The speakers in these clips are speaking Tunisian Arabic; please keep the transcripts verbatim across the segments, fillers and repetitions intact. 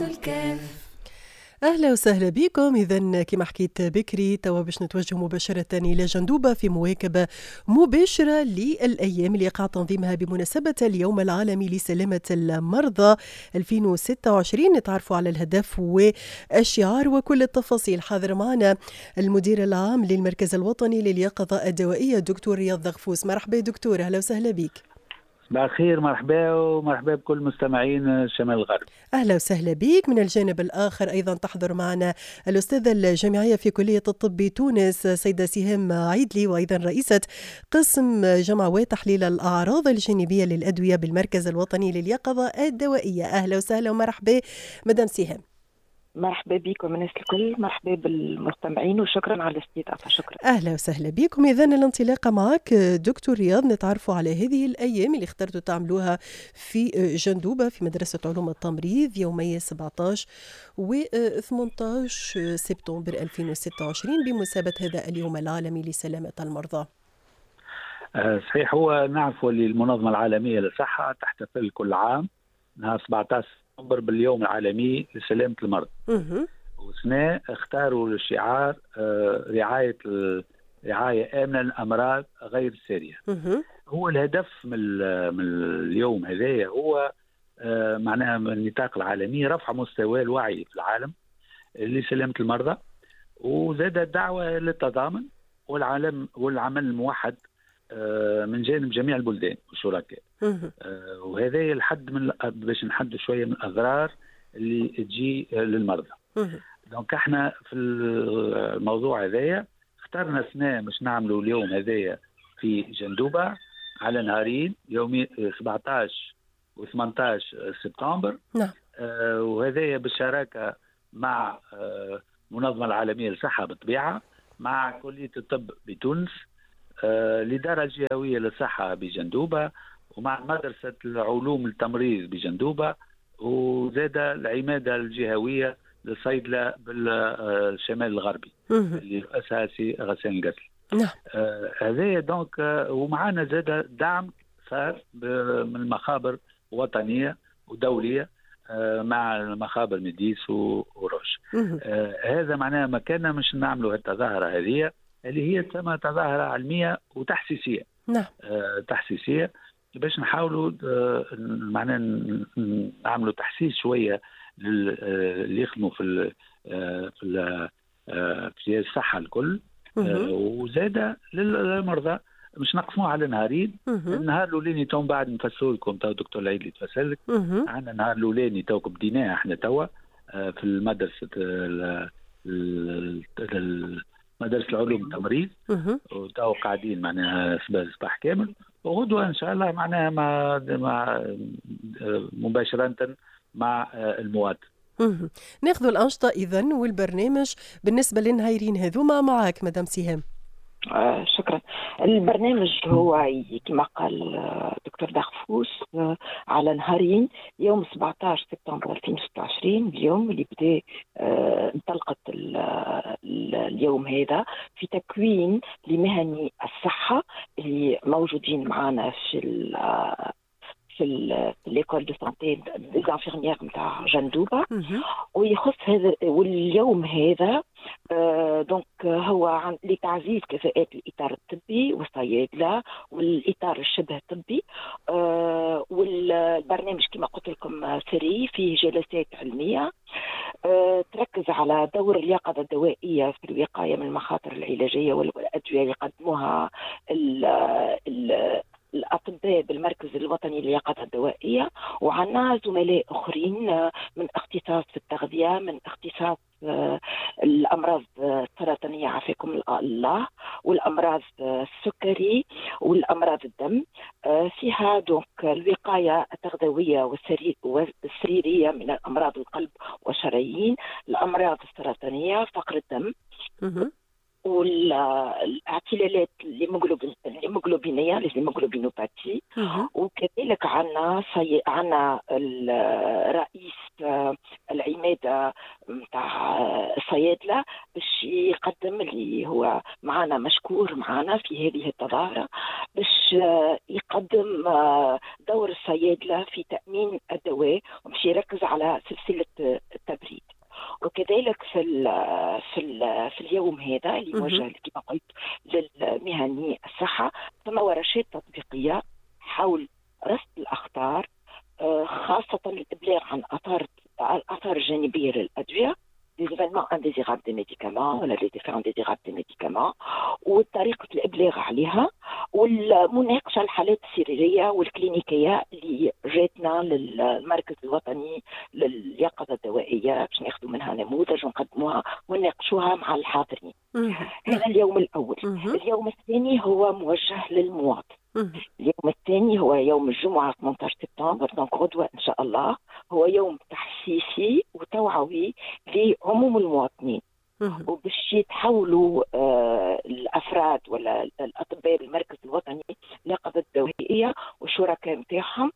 الكاف. أهلا وسهلا بكم. إذا كما حكيت بكري توا باش نتوجه مباشرة إلى جندوبة في مواكبة مباشرة للأيام اللي يقع تنظيمها بمناسبة اليوم العالمي لسلامة المرضى ألفين وستة وعشرين. نتعرفوا على الهدف والشعار وكل التفاصيل. حاضر معنا المدير العام للمركز الوطني لليقظة الدوائية دكتور رياض دغفوس. مرحبا دكتور، أهلا وسهلا بك. صباح الخير، مرحبا ومرحبا بكل مستمعين الشمال الغربي. أهلا وسهلا بك. من الجانب الآخر أيضا تحضر معنا الأستاذة الجامعية في كلية الطب بتونس سيدة سهام عيدلي، وأيضا رئيسة قسم جمع وتحليل الأعراض الجانبية للأدوية بالمركز الوطني لليقظة الدوائية. أهلا وسهلا ومرحبا مدام سهام. مرحبا بكم الناس الكل، مرحبا بالمستمعين وشكرا على الاستضافة. شكرا. اهلا وسهلا بكم. اذا الانطلاقة معك دكتور رياض، نتعرفوا على هذه الايام اللي اخترتوا تعملوها في جندوبه في مدرسه علوم التمريض يومي سبعة عشر و ثمانية عشر سبتمبر ألفين وستة وعشرين بمناسبة هذا اليوم العالمي لسلامة المرضى. صحيح، هو نعرف اللي المنظمة العالمية للصحة تحتفل كل عام نهار سبعة عشر سبتمبر باليوم العالمي لسلامة المرضى. وسنة اختاروا الشعار رعاية رعاية آمنة للأمراض غير السارية. هو الهدف من من اليوم هذايا هو معناها من النطاق العالمي رفع مستوى الوعي في العالم لسلامة المرضى، وزاد الدعوة للتضامن والعالم والعمل الموحد من جانب جميع البلدان والشركاء. وهذا الحد من باش نحدوا شوية من الاضرار اللي تجي للمرضى. donc احنا في الموضوع هذايا اخترنا سنة باش نعملوا اليوم هذايا في جندوبه على نهارين، يومي سبعة عشر و ثمانية عشر سبتمبر. نعم. آه وهذايا بالشراكة مع آه المنظمة العالمية للصحة بالطبيعة، مع كليه الطب بتونس، آه الإدارة الجهوية للصحة بجندوبة، ومع مدرسة العلوم التمريض بجندوبة، وزاد العمادة الجهوية للصيدلة بالشمال الغربي اللي رأسها سي غسان القتل. نعم. آه هذا donc آه ومعنا زاد دعم صار من المخابر وطنية ودولية آه مع المخابر ميديس وروش. آه هذا معناها ما كان مش نعملوا التظاهرة هذه اللي هي تسمى تظاهرة علمية وتحسيسية. نعم. آه تحسيسية باش نحاولوا آه معناها نعملوا تحسيس شوية اللي يخدموا في ال في ال في الصحة الكل، آه وزادة للمرضى مش نقسموه على نهارين. النهار الأولاني تو بعد نفسروا لكم تو دكتور العيد اللي تفسر لك. عندنا النهار الأولاني تو بديناه احنا توا آه في المدرسة مدرسة العلوم التمريض، وتو قاعدين معناها صباح كامل، وغدوة إن شاء الله معناها مع مع مباشرة مع المواطن. ناخذ الأنشطة إذن والبرنامج بالنسبة للنهايرين هذوما معك مدام سهام. آه شكرا. البرنامج هو كما قال دكتور دغفوس آه على نهارين، يوم سبعة عشر سبتمبر ألفين وستة وعشرين اليوم اللي بدا آه انطلقت اليوم هذا في تكوين لمهني الصحة اللي موجودين معنا في في l'école de santé des infirmières نتاع جندوبه، ويخص هذا واليوم هذا donc هو لتعزيز كفاءات الاطار الطبي والصيادله والاطار الشبه الطبي. والبرنامج كما قلت لكم سري، فيه جلسات علمية تركز على دور اليقظة الدوائية في الوقاية من المخاطر العلاجية والادوية اللي يقدموها ال ال الأطباء بالمركز الوطني لليقظة الدوائية، وعنا زملاء آخرين من اختصاص في التغذية، من اختصاص الأمراض السرطانية عافاكم الله، والأمراض السكري والأمراض الدم. فيها donc الوقاية التغذوية والسريرية من الأمراض القلب والشرايين، الأمراض السرطانية، فقر الدم، والاعتلالات الهيموغلوبينيه les hémoglobinopathies. وكذلك عندنا صي... عندنا الرئيس العماده نتاع الصيادله باش يقدم اللي هو معنا مشكور معنا في هذه التظاهرة باش يقدم دور الصيادله في تامين الدواء وباش يركز على سلسلة وكذلك في ال في ال في اليوم هذا اللي موجه كما قلت للمهني الصحة، ثم ورشات تطبيقية حول رصد الأخطار، خاصة الإبلاغ عن آثار الآثار الجانبية للأدوية، les événements indésirables des médicaments ولا les effets indésirables des médicaments، وطريقة الإبلاغ عليها، والمناقشة الحالات السريرية والكلينيكية اللي جاتنا للمركز الوطني لليقظة الدوائية باش ناخذوا منها نموذج ونقدموها ونناقشوها مع الحاضرين. هذا اليوم الأول. اليوم الثاني هو موجه للمواطن. اليوم الثاني هو يوم الجمعة ثمانية عشر سبتمبر، donc غدوة إن شاء الله، هو يوم تحسيسي وتوعوي لعموم المواطنين، وباش يتحولوا آه الأفراد ولا الأطباء بالمركز الوطني لليقظة الدوائية والشركاء نتاعهم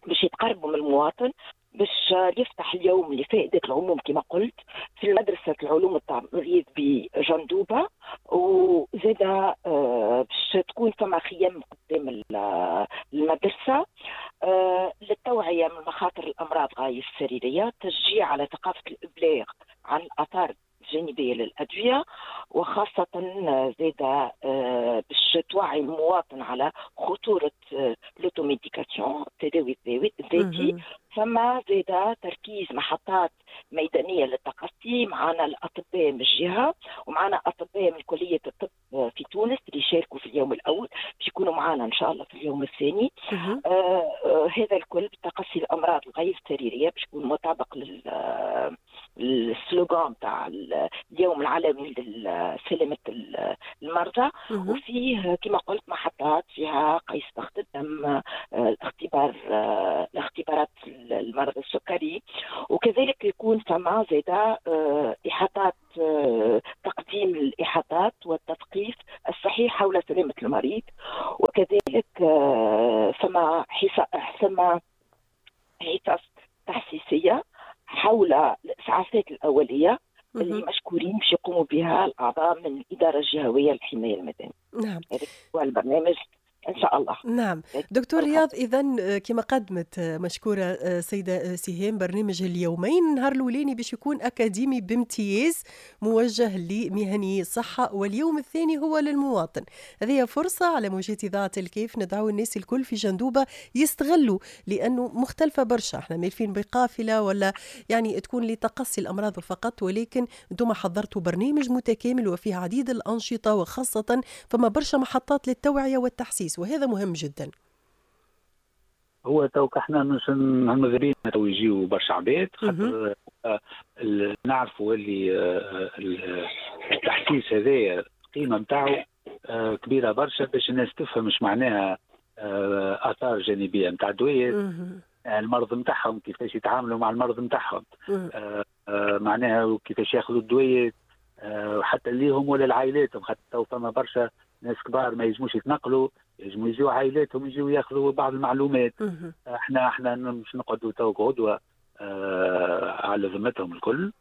باش يتقربوا من المواطن، باش يفتح اليوم لفائدة العموم كما قلت في مدرسة العلوم التمريض بجندوبة، وزادة باش تكون فما خيام قدام المدرسة للتوعية من مخاطر الأمراض غير السريرية، تشجيع على ثقافة الإبلاغ عن الآثار الجانبية للأدوية، وخاصة زادة باش توعي المواطن على خطورة l'automédication، التداوي الذاتي. فما زادة تركيز محطات ميدانية للتقصي، معنا الأطباء من الجهة ومعنا أطباء من كلية الطب في تونس اللي شاركوا في اليوم الأول باش يكونوا معنا إن شاء الله في اليوم الثاني. آه آه هذا الكل بتقصي الأمراض الغير السريرية باش يكون مطابق لل ال slogan تاع اليوم العالمي لسلامة المرضى. وفيه كما قلت محطات فيها قيس ضغط الدم، الاختبار، الاختبارات المرض السكري، وكذلك يكون فما زادا إحاطات، تقديم الإحاطات والتثقيف الصحيح حول سلامة المريض، وكذلك فما فما حصص تحسيسية حول الإسعافات الأولية اللي مشكورين باش يقوموا بها الأعضاء من الإدارة الجهوية للحماية المدنية. نعم، هذا هو البرنامج إن شاء الله. نعم دكتور رياض، إذا كما قدمت مشكورة سيدة سهام برنامج اليومين، النهار الأولاني باش يكون أكاديمي بامتياز موجه لمهني الصحة، واليوم الثاني هو للمواطن. هذه فرصة على موجات إذاعة الكيف ندعو الناس الكل في جندوبة يستغلوا، لأنه مختلفة برشا، احنا مالفين بقافلة ولا يعني تكون لتقصي الأمراض فقط، ولكن انتم حضرتوا برنامج متكامل وفيه عديد الأنشطة، وخاصة فما برشا محطات للتوعية والتحسيس، وهذا مهم جدا. هو توك احنا مش ماذا تو يجيو برشا عباد، خاطر نعرفوا اللي التحسيس هذايا القيمة نتاعو كبيرة برشا باش الناس تفهم اش معناها اثار جانبيه نتاع الدويات، المرض نتاعهم كيفاش يتعاملوا مع المرض نتاعهم، معناها كيفاش ياخذوا الدويات حتى ليهم ولا لعائلاتهم، خاطر تو فما برشا ناس كبار ما يجموش يتنقلوا، يجموا يجيو عائلاتهم يجيو ياخذوا بعض المعلومات. احنا احنا مش نقعدوا تو غدوه آه على ذمتهم الكل،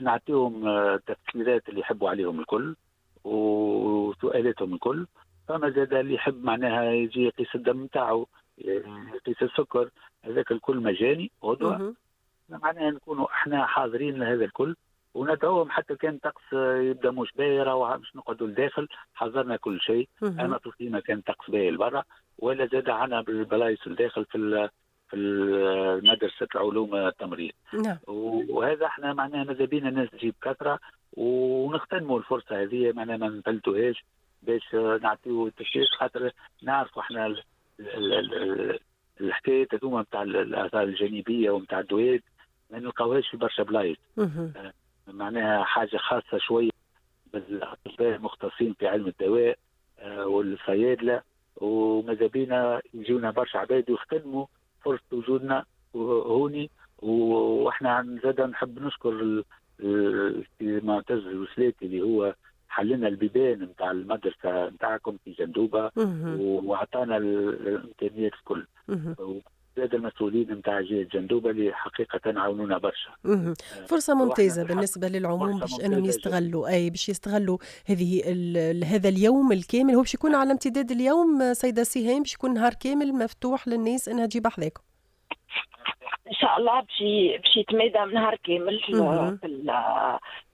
نعطيهم التفسيرات اللي يحبوا عليهم الكل وسؤالاتهم الكل. فما زاد اللي يحب معناها يجي يقيس الدم نتاعو، يقيس السكر، هذاك الكل مجاني غدوه. معناها نكونوا احنا حاضرين لهذا الكل وندعوهم، حتى كان طقس يبدا مش باهي راهو باش نقعدوا لداخل، حضرنا كل شيء. اما تصيما كان طقس باهي لبرا، ولا زاد عنا بالبلايص لداخل في في مدرسه العلوم التمريض. نعم. وهذا احنا معناها ماذا بينا الناس تجيب كثرة ونغتنموا الفرصة هذه، معناها ما نفلتوهاش باش نعطيو التشجيع، خاطر نعرفوا احنا الحكاية هذوما نتاع الاثار الجانبية ونتاع الدويات ما نلقاوهاش في برشا بلايص. معناها حاجة خاصة شوية بالاطباء المختصين في علم الدواء والصيادله، وماذا بينا يجونا برشا عباد ويختموا فرصة وجودنا هوني. واحنا زاد نحب نشكر معتز الوسلاتي اللي هو حلنا البيبان نتاع المدرسة نتاعكم في جندوبه واعطانا الامكانيات الكل. زاد المسؤولين نتاع جهة جندوبه اللي حقيقة عاونونا برشا. فرصة ممتازة بالنسبة للعموم باش انهم يستغلوا، اي باش يستغلوا هذه هذا اليوم الكامل. هو باش يكون على امتداد اليوم سيده سهام، باش يكون نهار كامل مفتوح للناس انها تجيب حذاكم. ان شاء الله باش باش يتمادى نهار كامل في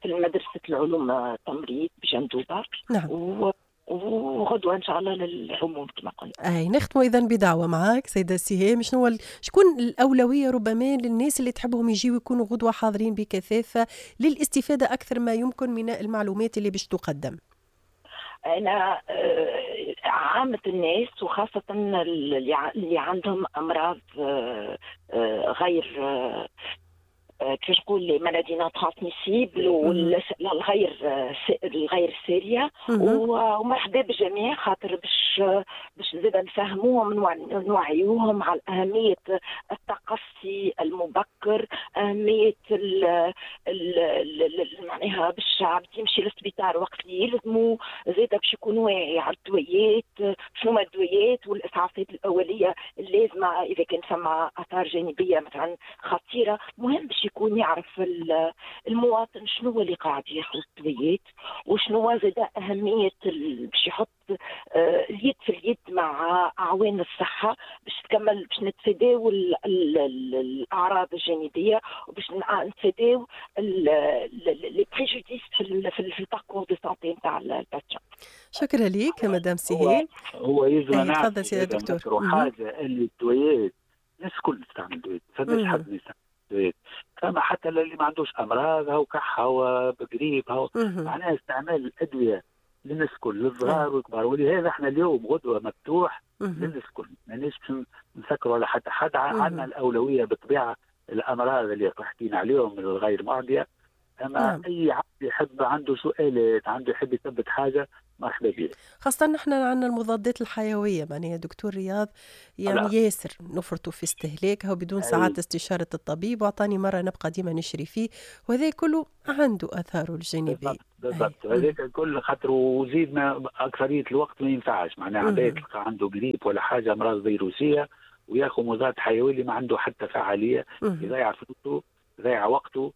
في مدرسه العلوم التمريض بجندوبه. نعم. و وغدوه ان شاء الله للعموم كما قلنا. اي نختموا اذا بدعوة معاك سيده سهام، شنو ال... شكون الاولوية ربما للناس اللي تحبهم يجيو يكونوا غدوه حاضرين بكثافة للاستفادة اكثر ما يمكن من المعلومات اللي باش تقدم؟ انا عامة الناس وخاصة اللي عندهم امراض غير كيفاش نقول les maladies non transmissibles والغير الغير ساريه، ومرحبا بالجميع خاطر باش باش زاد نفهموهم ونوعيوهم على اهمية التقصي المبكر، اهمية ال ال معناها باش الشعب يمشي للسبيطار وقت اللي يلزمو، زاد باش يكون واعي على الدويات، شنو هما الدويات والاسعافات الاولية اللازمة اذا كان فما اثار جانبيه مثلا خطيرة. مهم باش يكون يعرف المواطن شنو هو اللي قاعد ياخذ الدويات وشنو زاد اهمية باش يحط اليد في اليد مع اعوان الصحة باش تكمل باش نتفاداو الاعراض الجانبية وباش نتفاداو les préjudices في في ال parcours de santé نتاع ال patient. شكرا لك مدام سهام. هو يلزم نعرف تفضل سيادة الدكتور حاجة اللي الدويات الناس الكل تستعمل دويات، فماش حد يستعمل دويات، فما حتى اللي ما عندوش امراض هو كحه هو بقريب هو معناها استعمال الادوية للناس الكل، للصغار والكبار، ولهذا احنا اليوم غدوه مفتوح للناس الكل، ماناش باش نسكروا على حتى حد. عندنا الاولوية بالطبيعة الامراض اللي حكينا عليهم الغير معدية، اما نعم. اي عبد يحب عنده سؤالات، عنده يحب يثبت حاجة، مرحبا به. خاصة نحن عندنا المضادات الحيوية معناها دكتور رياض يعني لا. ياسر نفرطوا في استهلاكها وبدون ساعات استشارة الطبيب، وأعطاني مرة نبقى ديما نشري فيه، وهذا كله عنده آثاره الجانبية. بالضبط هذاك الكل خاطر وزيد ما أكثرية الوقت ما ينفعش، معناها عباد تلقى عنده قريب ولا حاجة أمراض فيروسية وياخذ مضاد حيوي اللي ما عنده حتى فعالية، يضيع فلوسه، يضيع وقته،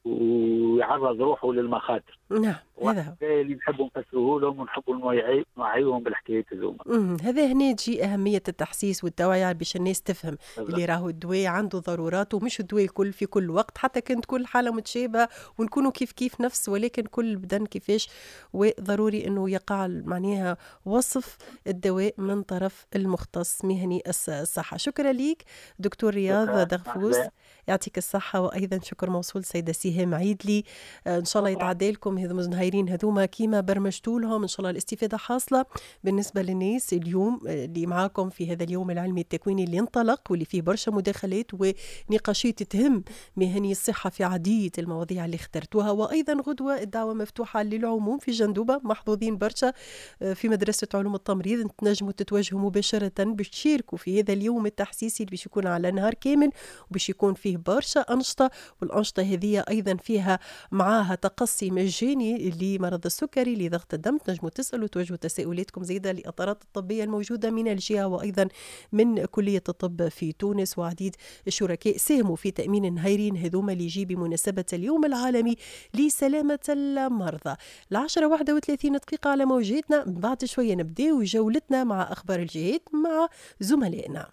ويعرض روحه للمخاطر. نعم هذا هو اللي نحبوا نفسروه لهم ونحبوا نوعيهم بالحكايات هذوما. هذا هنا تجي أهمية التحسيس والتوعية باش الناس تفهم بالضبط. اللي راهو الدواء عنده ضرورات ومش الدواء الكل في كل وقت، حتى كانت كل حالة متشابهة ونكونوا كيف كيف نفس، ولكن كل بدن كيفاش، وضروري أنه يقع معناها وصف الدواء من طرف المختص مهني الصحة. شكرا ليك دكتور رياض دغفوس، يعطيك الصحة، وأيضا شكر موصول سيدة سهام عيدلي. إن شاء الله يتعدى لكم هذوما النهارين هذوما كيما برمجتوا لهم، إن شاء الله الاستفادة حاصلة بالنسبة للناس اليوم اللي معاكم في هذا اليوم العلمي التكويني اللي انطلق واللي فيه برشا مداخلات ونقاشات تهم مهني الصحة في عديد المواضيع اللي اخترتوها. وأيضا غدوة الدعوة مفتوحة للعموم في جندوبة، محظوظين برشا في مدرسة علوم التمريض، تنجموا تتواجهوا مباشرة باش تشاركوا في هذا اليوم التحسيسي اللي باش يكون على نهار كامل وباش يكون فيه برشا أنشطة، والأنشطة هذه أيضا فيها معاها تقصي مجاني لمرض السكري لضغط الدم، تنجموا تسألوا توجهوا تساؤلاتكم زيادة للإطارات الطبية الموجودة من الجهة وأيضا من كلية الطب في تونس، وعديد الشركاء ساهموا في تأمين النهارين هذوما اللي يجي بمناسبة اليوم العالمي لسلامة المرضى. العشرة واحدة وثلاثين دقيقة على موجاتنا، بعد شوية نبدأ جولتنا مع أخبار الجهات مع زملائنا.